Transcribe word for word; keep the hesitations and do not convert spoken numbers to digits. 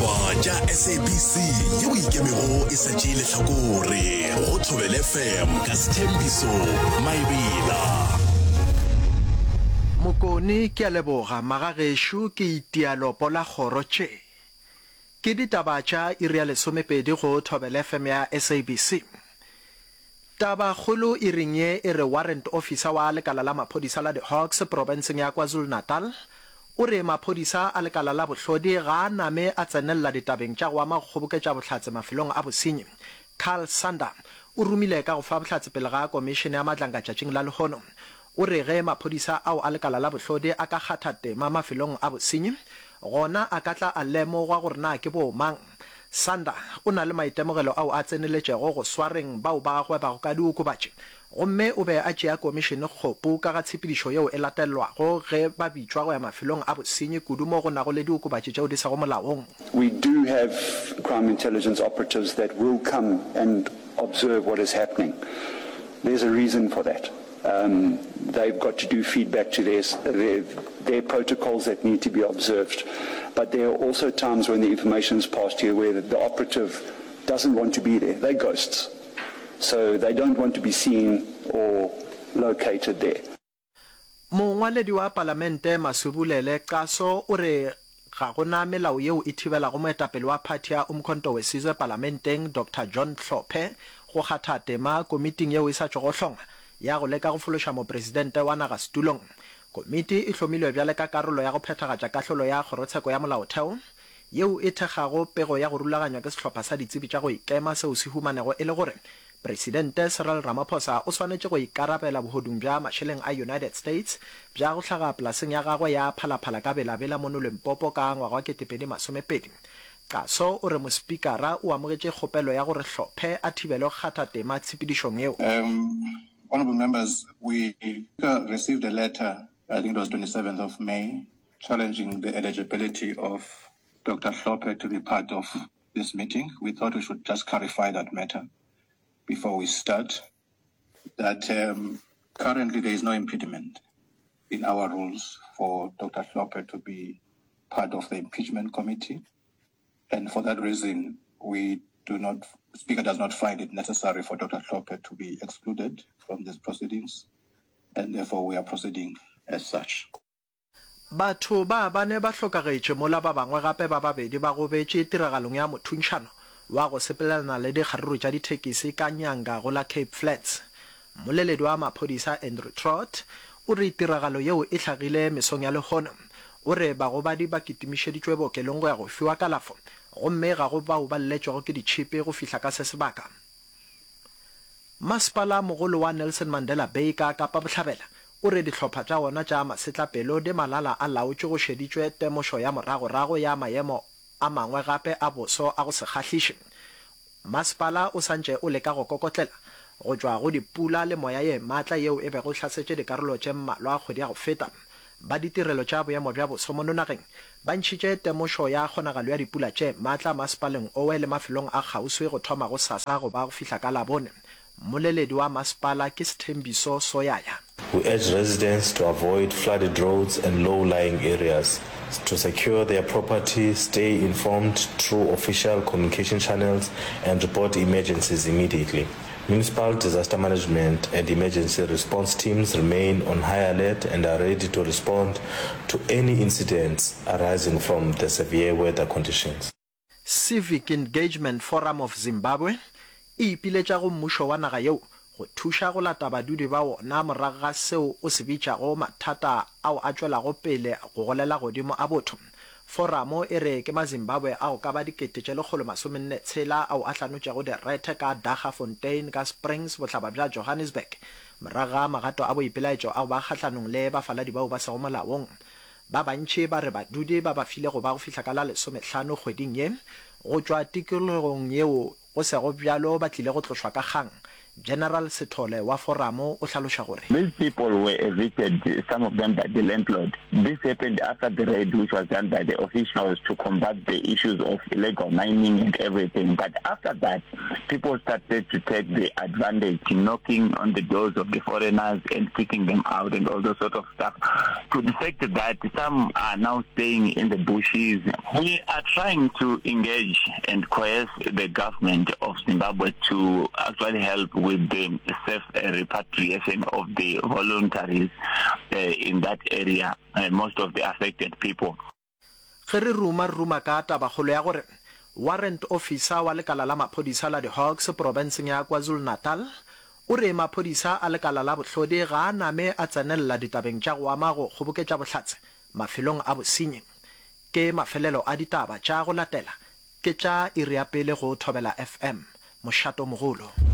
Ditaba tša S A B C yeo ikemego e sa tšee lehlakore go Thobela F M ka Sethembiso Maebela. Mokone, ke a leboga magagešo, ke itia lopo la kgoro tše. Ke ditaba tša iri ya lesomepedi go Thobela F M ya S A B C. Tabakgolo iring ye e re warrant officer wa lekala la maphodisa la di-Hawks profenseng ya KwaZulu-Natal o re maphodisa a lekala la bohlodi ga a name a tsenelela ditabeng tša go ama go kgoboketša bohlatse mafelong a bosenyi. Carl Sander o romile ka go fa bohlatse pele ga komišene ya Madlanga tšatšing la lehono. O re ge maphodisa ao a lekala la bohlodi a ka kgatha tema mafelong a bosenyi, gona a ka tla a lemogwa gore na ke bomang. Sander o na le maitemogelo ao a tseneletšego go swareng bao ba gwebago ka diokobatši, gomme o be a tšea komišene kgopu ka ga tshepedišo yeo e latelwago ge ba bitšwa go ya mafelong a bosenyi, kudu mo go nago le diokobatši tšeo di sego molaong. We do have crime intelligence operatives that will come and observe what is happening. There's a reason for that. Um, they've got to do feedback to their, their, their protocols that need to be observed. But there are also times when the information is passed here where the, the operative doesn't want to be there. They're ghosts. So they don't want to be seen or located there. Mongwaledi wa Palamente Masubulele Xaso o re ga gona melao yeo e thibelago moetapele wa phathi ya Umkhonto weSizwe palamenteng Doctor John Hlophe go kgatha tema komiting yeo e sa tšwago hlongwa ya go leka go fološa mopresidente wa naga setulong. Komiti e hlomilwe bjale ka karolo ya go phethagatša kahlolo ya kgorotsheko ya molaotheo yeo e thekgago pego ya go rulaganywa ke sehlopha sa ditsebi tša go ikema seo se humanego e le gore Presidente Cyril Ramaphosa o swanetše go ikarabela bohodung bja mašeleng a United States bja go hlaga polaseng ya gagwe ya Phalaphala ka Belabela mono Limpopo ka ngwaga wa ketepedi masomepedi. Xaso o re mospikara o amogetše kgopelo ya gore Hlophe a thibelwe go kgatha tema tshepedišong yeo. Um, honorable members, we received a letter, I think it was twenty-seventh of May, challenging the eligibility of Doctor Hlophe to be part of this meeting. We thought we should just clarify that matter before we start. That um, currently there is no impediment in our rules for Doctor Hlophe to be part of the impeachment committee. And for that reason, we do not, Speaker does not find it necessary for Doctor Hlophe to be excluded from these proceedings, and therefore we are proceeding as such. Batho ba bane ba hlokagetše mola ba bangwe gape ba babedi ba gobetše tiragalong ya mothuntšhano wa go sepelelana le dikgaruru tša dithekisi ka Nyanga go la Cape Flats. Mmoleledi wa maphodisa Andrew Trott o re tiragalo yeo e hlagile mesong ya lehono. O re bagobadi ba kitimišeditšwe bookelong go ya go fiwa kalafo, gomme ga go bao ba lletšwego ke ditšhipi go fihla ka se sebaka. Masepala mogolo wa Nelson Mandela Bay ka Kapa Bohlabela o re dihlopha tša wona tša masetlapelo di malala a laotšwe go šeditšwe temošo ya moragorago ya maemo a mangwe gape a boso a go se kgahliše. Masepala o santše o leka go kokotlela go tšwa go dipula le moya ye maatla yeo e bego e hlasetše dikarolo tše mmalwa kgwedi ya go feta. Ba ditirelo tša boemo bja boso mono nageng ba ntšhitše temošo ya kgonagalo ya dipula tše maatla masepaleng owe le mafelong a kgauswi go thoma go sasa go ba go fihla ka Labone. Mmoleledi wa masepala ke Sethembiso Soyaya. We urge residents to avoid flooded roads and low-lying areas, to secure their property, stay informed through official communication channels, and report emergencies immediately. Municipal disaster management and emergency response teams remain on high alert and are ready to respond to any incidents arising from the severe weather conditions. Civic Engagement Forum of Zimbabwe e ipiletša go mmušo wa naga yeo go thuša go lata badudi ba wona morago ga seo o se bitšago mathata ao a tšwelago pele go golela godimo a botho. Foramo e re ke Mazimbabwe a go ka ba dikete tše lekgolo masomenne tshela ao a hlanotšego direthe ka Daggafontein ka Springs, bohlaba bja Johannesburg, morago ga magato a boipelaetšo a go ba kgahlanong le bafaladi bao ba sego molaong. Ba bantši ba re badudi ba ba file go ba go fihla ka la lesomehlano kgweding ye go tšwa tikologong yeo, go sego bjalo ba tlile go tlošwa ka kgang. General Sithole wa Foramo o hlaloša gore. These people were evicted, some of them by the landlord. This happened after the raid which was done by the officials to combat the issues of illegal mining and everything. But after that, people started to take the advantage, knocking on the doors of the foreigners and kicking them out and all those sort of stuff. To the fact that some are now staying in the bushes. We are trying to engage and coerce the government of Zimbabwe to actually help with the safe repatriation of the voluntaries uh, in that area, uh, most of the affected people. Ge re ruma re ruma ka tabakgolo ya gore Warrant Officer wa lekala la maphodisa la di-Hawks profenseng ya KwaZulu-Natal o re maphodisa a lekala la bohlodi ga a name a tsenelela ditabeng tša go ama go kgoboketša bohlatse mafelong a bosenyi. Ke mafelelo a ditaba tša go latela ke tša iri ya pele go Thobela F M, mošato mogolo.